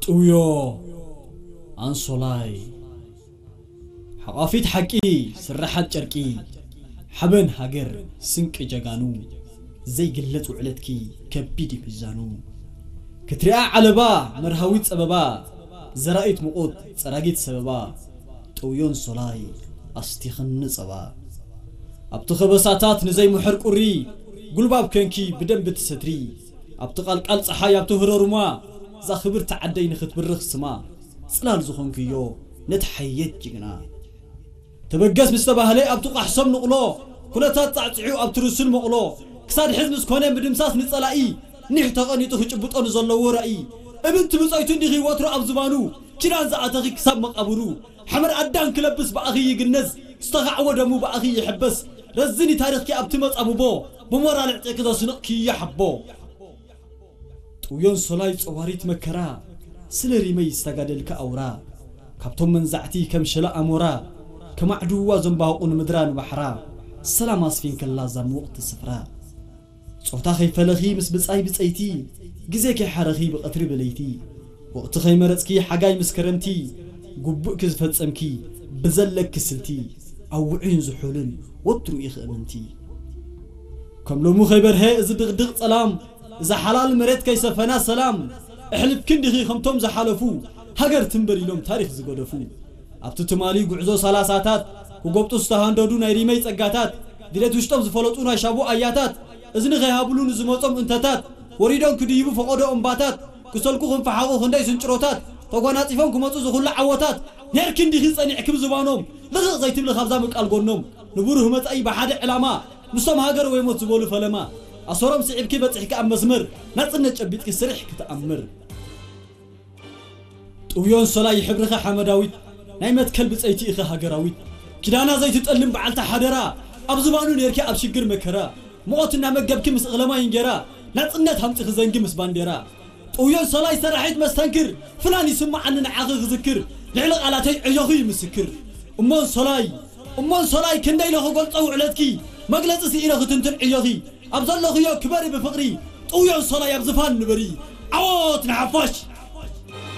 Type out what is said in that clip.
ጥውዮ ኣንሶላይ ሓቋፊት ሓቂ ስራሓት ጨርቂ ሓበን ሃገር ስንቂ ጀጋኑ ዘይግለጽ ውዕለትኪ ከቢድ እዩ ሚዛኑ ክትሪኣ ዓለባ መርሃዊት ጸበባ ዘራኢት ምቑት ጸራጊት ሰበባ ጥውዮን ሶላይ ኣስቲኽኒ ጸባ ኣብቲ ኸበሳታት ንዘይምሕር ቁሪ ጉልባብ ከንኪ ብደንቢ ትሰትሪ ኣብቲ ቃልቃል ጸሓይ ኣብቲ ህረሩማ እዛ ክብርቲ ዓደይ ንኽትብርኽ ስማ ጽላል ዝኾንክዮ ነቲ ሓየት ጅግና ተበገስ ምስ ተባህለ ኣብቲ ቋሕሶም ንቕሎ ኩነታት ጻዕጺዑ ኣብቲ ርሱን መቕሎ ክሳድ ሕዝ ምስ ኮነ ምድምሳስ ንጸላኢ ኒሕ ተቐኒጡ ክጭብጦ ንዘለዎ ራኢ እምንቲ ብጾይቱ እንዲኺ ወትሩ ኣብ ዝባኑ ኪዳን ዝኣተኺ ክሳብ መቓብሩ ሓመድ ኣዳም ክለብስ ብኣኺ ይግነዝ ዝተኻዕወ ደሙ ብኣኺ ይሕበስ ረዝኒ ታሪኽኪ ኣብቲ መጻብቦ ብሞራል ዕጥቂ ዘስንቕ ክይሓቦ ጥውዮን ሶላይ ጸዋሪት መከራ ስለ ሪመይ ዝተጋደልካ ኣውራ ካብቶም መንዛዕቲ ከም ሸላ ኣሞራ ከማዕድዋ ዘንባቑ ንምድራ ንባሕራ ሰላም ኣስፊንከላ እዛ ምውቕቲ ስፍራ ጾታ ከይፈለኺ ምስ ብጻይ ብጸይቲ ግዜ ከይሓረኺ ብቐትሪ ብለይቲ ወቕቲ ከይመረጽኪ ሓጋይ ምስ ከረምቲ ጉቡእኪ ዝፈጸምኪ ብዘለኪ ስልቲ ኣብ ውዑይን ዝሑልን ወትሩ ኢኺ እምንቲ ከም ሎሙ ከይበርሀ እዚ ድቕድቕ ጸላም እዛ ሓላል መሬት ከይሰፈና ሰላም እሕልፍ ክንዲኺ ከምቶም ዝሓለፉ ሃገር ትንበር ኢሎም ታሪኽ ዝገደፉ ኣብቲ ትማሊ ጉዕዞ ሰላሳታት ክጎብጡ ዝተሃንደዱ ናይ ሪመይ ጸጋታት ድሌት ውሽጦም ዝፈለጡ ናይ ሻቡ ኣያታት እዝኒ ከይሃብሉ ንዝመጾም እንተታት ወሪዶም ክድይቡ ፈቐዶ እምባታት ክሰልኩ ክንፈሓቑ ክንደይ ስንጭሮታት ተጓናጺፎም ክመጹ ዝኹሉ ዓወታት ኔርኪ እንዲኺ ጸኒዕኪ ብዝባኖም ልኽቕ ዘይትብሊ ካብዛ ምቃል ጎኖም ንብሩህ መጻኢ ብሓደ ዕላማ ምስቶም ሃገር ወይ ሞት ዝበሉ ፈለማ ኣሰሮም ስዒብኪ በጺሕኪ ኣብ መስመር ናጽነት ጨቢጥኪ ስርሕ ክትኣምር ጥውዮን ሶላይ ሕብርኺ ሓመዳዊት ናይ መትከል ብጸይቲ ኢኺ ሃገራዊት ኪዳና ዘይትጠልም በዓልቲ ሓደራ ኣብ ዝባኑ ኔርኪ ኣብ ሽግር መከራ ሙቐት እናመገብኪ ምስ እኽለማይ እንጌራ ናጽነት ሃምጺኺ ዘንጊ ምስ ባንዴራ ጥውዮን ሶላይ ሰራሒት መስተንክር ፍናን ይስምዓኒ ንዓኺ ክዝክር ልዕሊ ቃላተይ ዕዮኺ ይምስክር እሞን ሶላይ እሞን ሶላይ ክንደይ ኢለ ክገልጾ ውዕለትኪ መግለጺ ስኢነ ክትንትን ዕዮኺ ኣብ ዘለኽዮ ክበሪ ብፍቕሪ ጥውዮን ሶላይ ኣብ ዝፋን ንበሪ ዓወት ንሓፋሽ